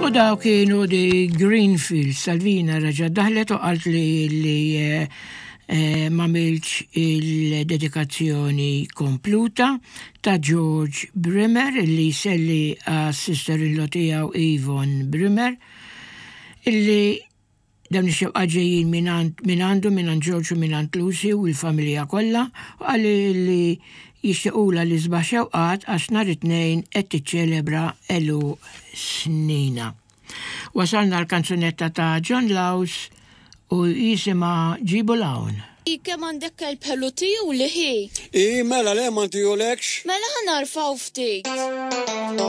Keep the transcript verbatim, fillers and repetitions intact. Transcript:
U daw kienu di Greenfield. Salvina reġa' daħlet u qalt li li eh, eh, m'għamiltx il-dedikazzjoni kompluta ta' George Brimmer, illi jsellem għas-sister-in-law tiegħu Yvonne Brimmer, illi dawn ix-xewqa ġejjin minn għandu, minn George u minn Lucy u l-familja kollha, u qalli li jixtiequlha l-isbaħ xewqat għax nhar it-Tnejn qed tiċċelebra għeluq sninha. Wasalna l-kanzunetta ta' John Laus u jisimha "Ġibu 'l Hawn". Kemm għandek kelb ħelu tiju li ħi? I, mela le ma ntihulekx? Mela ħa narfaw ftit.